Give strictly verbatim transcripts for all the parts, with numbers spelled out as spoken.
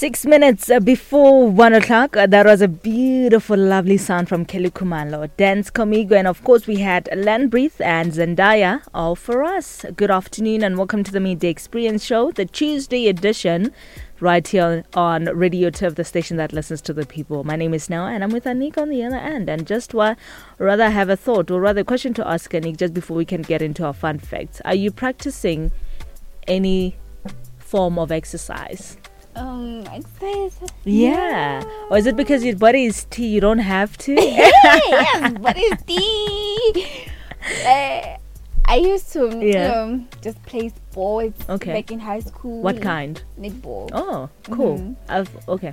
Six minutes uh, before one o'clock, uh, that was a beautiful, lovely sound from Kelly Khumalo, Dance Comigo, and of course we had Len Breathe and Zendaya all for us. Good afternoon and welcome to the Midday Experience Show, the Tuesday edition, right here on Radio Turf, the station that listens to the people. My name is Nell and I'm with Anik on the other end. And just why, rather have a thought or rather a question to ask Anik just before we can get into our fun facts. Are you practicing any form of exercise? Um, exercise. Yeah. Or is it because your body is tea, you don't have to? yes, body is tea. Uh, I used to Yeah. um, just play sports Okay. back in high school. What kind? Netball. Oh, cool. Mhm. I've okay.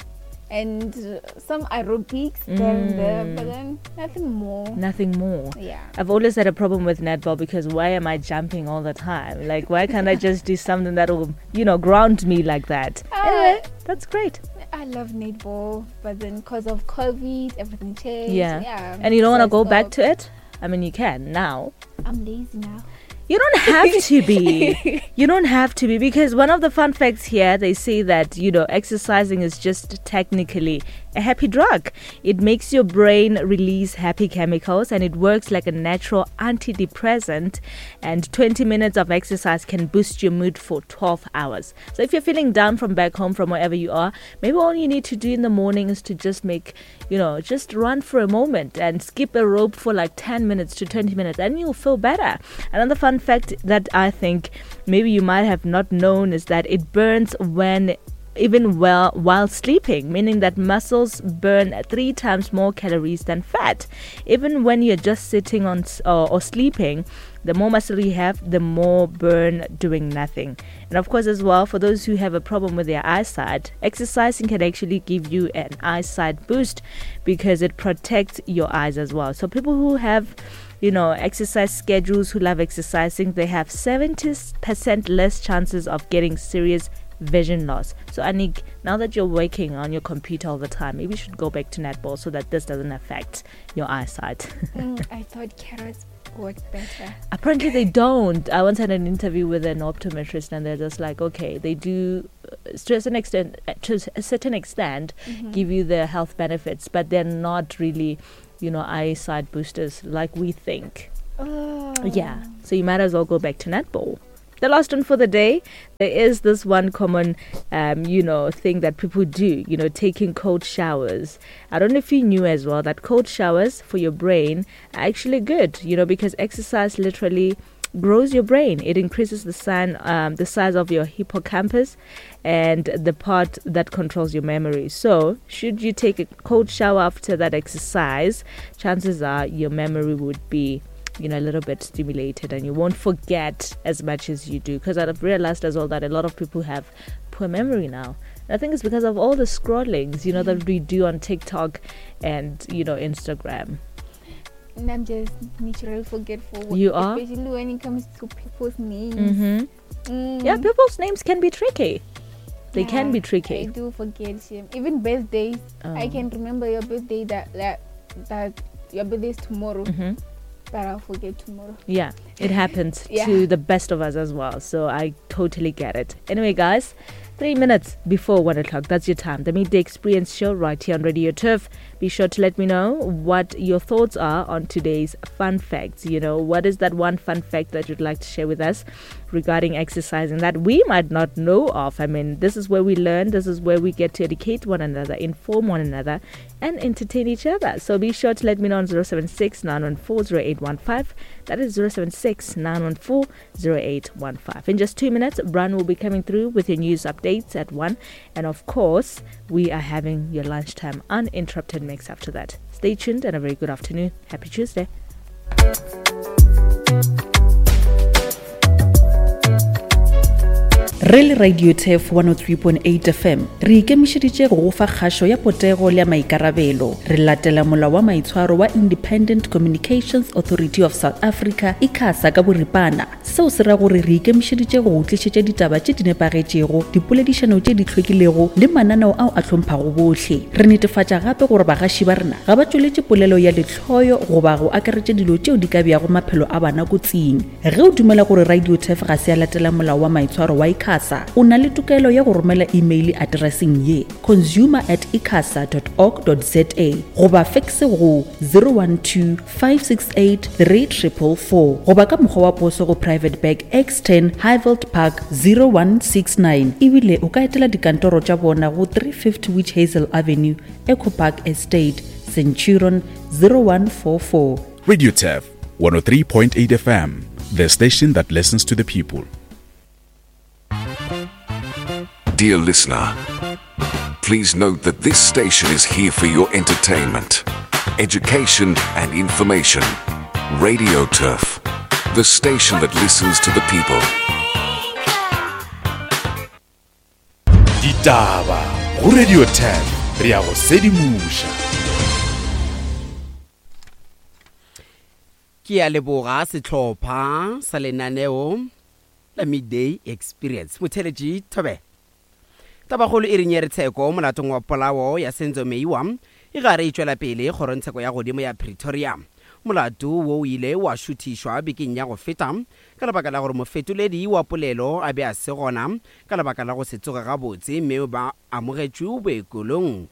And uh, some aerobics there and there, but Mm. then nothing more. Nothing more. Yeah. I've always had a problem with netball because why am I jumping all the time? Like, why can't I just do something that will, you know, ground me like that? Anyway, Uh, that's great. I love netball, but then because of COVID, everything changed. Yeah. Yeah. And you don't So want to I go back stopped. to it? I mean, you can now. I'm lazy now. You don't have to be. You don't have to be, because one of the fun facts here, they say that, you know, exercising is just technically a happy drug. It makes your brain release happy chemicals and it works like a natural antidepressant. And twenty minutes of exercise can boost your mood for twelve hours. So if you're feeling down from back home, from wherever you are, maybe all you need to do in the morning is to just make, you know, just run for a moment and skip a rope for like ten minutes to twenty minutes and you'll feel better. Another fun fact that I think maybe you might have not known is that it burns when even well while sleeping, meaning that muscles burn three times more calories than fat. Even when you're just sitting on s-, or, or sleeping, the more muscle you have, the more burn doing nothing. And of course as well, for those who have a problem with their eyesight, exercising can actually give you an eyesight boost because it protects your eyes as well. So people who have, you know, exercise schedules, who love exercising, they have seventy percent less chances of getting serious vision loss. So Anik, now that you're working on your computer all the time, maybe you should go back to netball so that this doesn't affect your eyesight. mm, I thought carrots work better. Apparently they don't. I once had an interview with an optometrist and they're just like, okay, they do, uh, to a certain extent, uh, to a certain extent, Mm-hmm. give you the health benefits, but they're not really, you know, eyesight boosters like we think. Oh. Yeah. So you might as well go back to netball. The last one for the day, there is this one common, um, you know, thing that people do, you know, taking cold showers. I don't know if you knew as well that cold showers for your brain are actually good, you know, because exercise literally grows your brain. It increases the, sign, um, the size of your hippocampus and the part that controls your memory. So should you take a cold shower after that exercise, chances are your memory would be, you know, a little bit stimulated and you won't forget as much as you do. 'Cause I've realized as well that a lot of people have poor memory now. And I think it's because of all the scrollings, you know, that we do on TikTok and, you know, Instagram. And I'm just naturally forgetful. You are? Especially when it comes to people's names. Mm-hmm. Mm. Yeah, people's names can be tricky. They can Yeah, be tricky. I do forget. Shame. Even birthdays. I Oh. can remember your birthday that, that, that your birthday is tomorrow. Mm-hmm. But I'll forget tomorrow. Yeah, it happens Yeah. to the best of us as well. So I totally get it. Anyway, guys, three minutes before one o'clock. That's your time. The Midday Experience Show right here on Radio Turf. Be sure to let me know what your thoughts are on today's fun facts. You know, what is that one fun fact that you'd like to share with us regarding exercising that we might not know of? I mean, this is where we learn. This is where we get to educate one another, inform one another, and entertain each other. So be sure to let me know on zero seven six, nine one four, zero eight one five. That is zero seven six, nine one four, zero eight one five. In just two minutes, Bran will be coming through with your news updates at one. And of course, we are having your lunchtime uninterrupted mix after that. Stay tuned and a very good afternoon. Happy Tuesday. Re le Radio Turf one oh three point eight F M, re ikemišeditše go go fa kgašo ya potego le ya maikarabelo. Re latela molao wa maitshwaro wa Independent Communications Authority of South Africa, ICASA ka boripana. Seo se ra gore re ikemišeditše go go tlišetša ditaba tše di nepagetšego, dipoledišano tše di hlwekilego le mananeo ao a hlomphago bohle. Re netefatša gape gore bagaši ba rena ga ba tšweletše polelo ya lehloyo goba go akaretša dilo tšeo di ka beago maphelo a bana kotsing. Ge o dumela gore Radio Turf ga se ya latela molao wa maitshwaro wa ICASA, ICASA. O na le tokelo ya go romela email atereseng ye consumer at icasa dot org dot za goba fax go zero one two five six eight three triple four goba ka mokgwa wa poso go Private Bag X ten Highveld Park zero one six nine. Ebile o ka etela dikantoro tša bona go three fifty Witch Hazel Avenue, Echo Park Estate, Centurion zero one four four. Radio Turf one oh three point eight F M, the station that listens to the people. Dear listener, please note that this station is here for your entertainment, education and information. Radio Turf, the station that listens to the people. Ditaba go Radio Turf, re ya go sedimoša. Ke a leboga sehlopha sa lenaneo la Midday Experience. Motheletši Thobe. Tabakgolo e re nyere tsheko molatong wa polao ya Senzo Meyiwa e gare e tšwela pele kgorongtsheko ya godimo ya Pretoria. Molato wo o ile wa šuthišwa bekeng ya go feta ka lebaka la gore mofetoledi wa polelo a be a se gona ka lebaka la go se tsoge gabotse mme ba amogetšwe boekelong.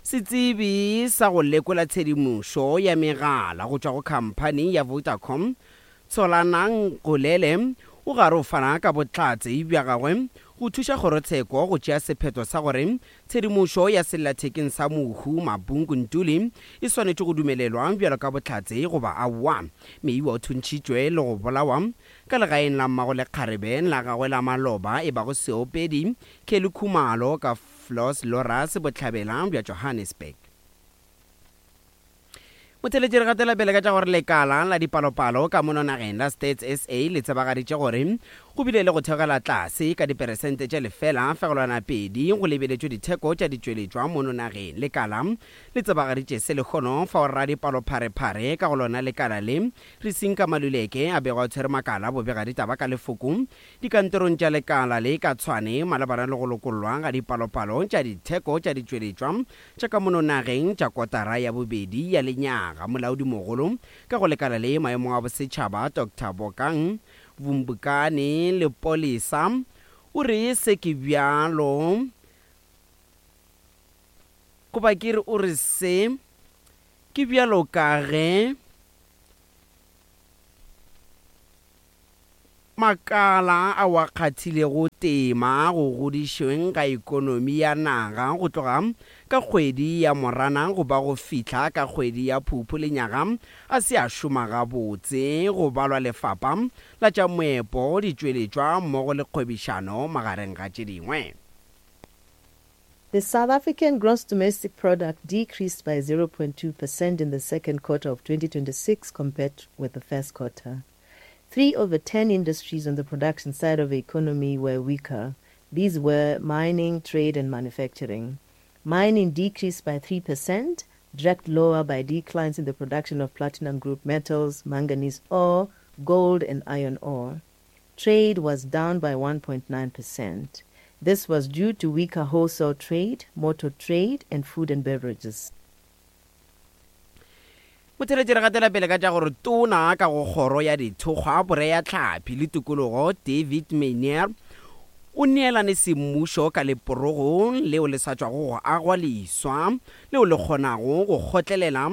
Setsebi sa go lekola tshedimošo ya megala go tšwa go khamphani ya Vodacom Tsholanang Golele o gare o fana ka bohlatse bja gagwe go thuša kgorotsheko go tšea sephetho sa gore tshedimošo ya sellathekeng sa mohu Mabungu Ntuli e swanetše go dumelelwa bjalo ka bohlatse goba aowa. Meyiwa o thuntšhitšwe le go bolawa ka legaeng la mmago lekgarebe la gagwe la maloba e bago seopedi Kelly Khumalo ka Floss Loras bohlabela bja Johannesburg. Motheletši re gatela pele ka tša gore lekala la dipalopalo ka mono nageng la Stats S A le tsebagaditše gore go bile le go theogela tlase ka diperesente tše lefela fegelwana pedi go lebeletšwe ditheko tša ditšweletšwa mono nageng. Lekala le tsebagaditše se lekgono fao radipalopharephare ka go lona lekala le Risinka Maluleke a bego a tshwere makala bobega ditaba ka lefoko dikantorong tša lekala le ka Tshwane malebana le go lokollwa ga dipalopalo tša ditheko tša ditšweletšwa tša ka mono nageng tša kotara ya bobedi ya lenyaga. Molaodi mogolo ka go lekala le maemong a bosetšhaba Doctor Bokang Vumbukani Lepolesa o re se ke bjalo goba ke re o re se ke bjalo ka ge makala a wa kgathilego tema go godišweng ga ekonomi ya naga go tloga ka kgwedi ya Moranang go ba go fihla ka kgwedi ya Phuphu lenyaga a se a šoma gabotse go balwa lefapha la tša moepo ditšweletšwa mmogo le kgwebišano magareng ga tše dingwe. The South African gross domestic product decreased by zero point two percent in the second quarter of twenty twenty-six compared with the first quarter. Three of the ten industries on the production side of the economy were weaker. These were mining, trade, and manufacturing. Mining decreased by three percent, dragged lower by declines in the production of platinum group metals, manganese ore, gold, and iron ore. Trade was down by one point nine percent. This was due to weaker wholesale trade, motor trade, and food and beverages. Motheletši re gatela pele ka tša gore tona ka go kgoro ya dithokgwa boreya tlhapi le tikologo David Maynier o neelane semmušo ka leporogo leo le sa tšwago go agwa leswa leo le kgonago go kgotlelela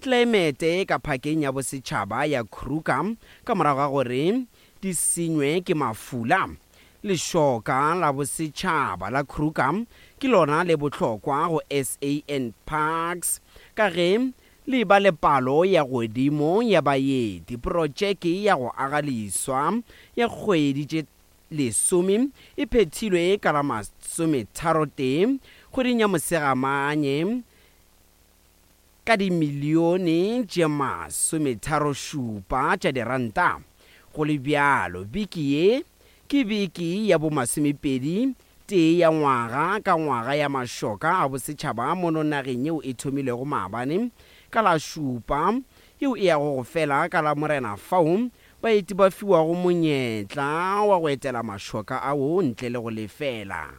tlelaemete ka phakeng ya bosetšhaba ya Kruger ka morago ga gore di senywe ke mafula. Lešoka la bosetšhaba la Kruger ke lona le bohlokwa go S A N Parks ka ge le ba le palo ya godimo ya baeti. Projeke ya go aga leswa ya kgwedi tše lesome e phethilwe ka la masometharotee kgweding ya Mosegamanye ka dimilione tše masometharošupa tša diranta. Go le bjalo biki ye ke biki ya bomasomepedi tee ya ngwaga ka ngwaga ya mašoka a bosetšhaba mono nageng yeo e thomilego maabane ka la šupa yeo e yago go fela ka la Morena fao baeti ba fiwago monyetla wa go etela mašoka ao ntle le go lefela.